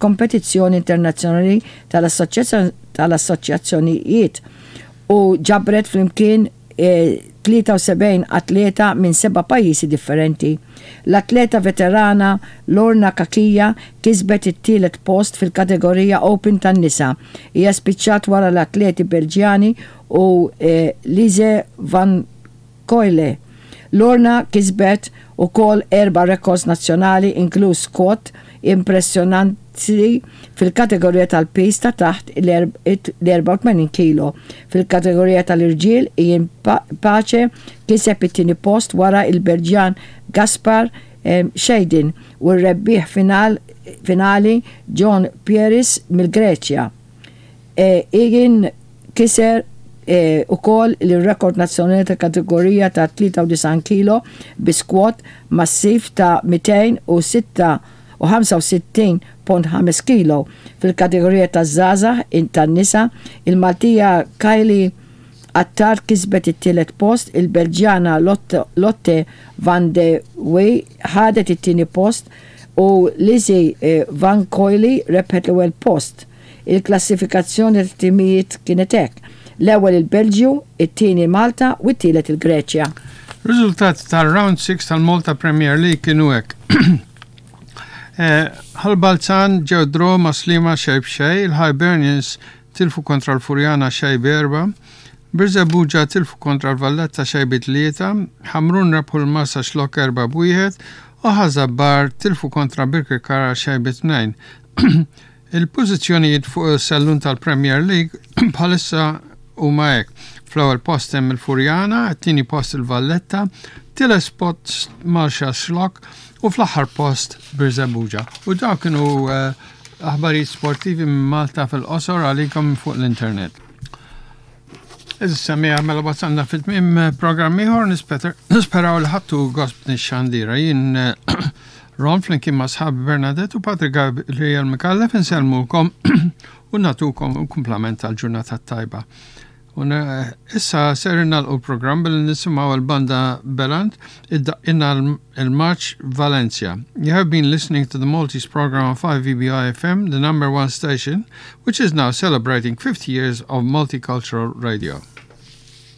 Kompetizzjoni Internazzjonali tal-Assoċjazzjonijiet u ġabret flimkien 73 atleta minn seba' pajjiżi differenti. L-atleta veterana Lorna Cachia kisbet it-tielet post fil-kategorija Open tan-nisa. Hija spiċċat wara l-atleti Belġjani u Lise Van Coyle. Lorna kisbet ukoll erba' rekords nazzjonali inkluż squat impressjonanti fil-kategorija tal-piż ta' taħt l-84 kilo. Fil-kategorija tal-irġiel, Ian Pace kiseb it-tieni post wara l-Belġjan Gaspar Scheidin u r-rebbieħ finali John Pieris mill-Greċja. Ian kiser ukoll l-rekord nazzjonali tal-kategorija ta' 93 kilo bi squat massiv ta' 265.5 kilo. Fil-kategorija taż-żgħażagħ tan-nisa, il-Maltija Kylie Attard kisbet it-tielet post, il-Belġjana Lotte van de Wee ħadet it-tieni post u Lizzie Van Coillie rebħet l-ewwel post. Il-klassifikazzjoni tat-timijiet kienet hekk, l-ewwel il-Belġju, it-tieni Malta u t-tielet il-Greċja. Riżultati tar-Round 6 tal-Malta Premier League kienu hekk. Ħal Balzan ġew draw ma' Sliema xejn b'xejn, il-Hibernians tilfu kontra l-Furjana xejn b'erba', Birżebbuġa tilfu kontra l-Valletta xejn bi tlieta, Ħamrun rebħu l-Marsaxlokk erba' b'wieħed u Ħaż-Żabbar tilfu kontra Birkirkara xejn bi tnejn. Il-pożizzjonijiet fuq is-sellun tal-Premier League bħalissa huma hekk. Fl-ewwel post hemm il-Furjana, it-tieni post il-Valletta, tielet post Marsaxlokk u fl-aħħar post Birżebbuġa. U dawk kienu eh, aħbarijiet sportivi minn Malta fil-qosor għalikom fuq l-internet. Issa mija mela wasalna fit-tmiem eh, programm ieħor nisperaw li ħadtu gost nix-xandira. Jien eh, Ron flimkien ma' sħabi Bernadette u Patrick Gabriel Micallef insellmulkom u natukom kumplament tal-ġurnata tajba. U eh, issa ser nagħlqu l-programm billi nisimgħu l-banda Beland iddaqqilna il-March Valencia. You have been listening to the Maltese program on 5VBI FM, the number one station, which is now celebrating 50 years of multicultural radio.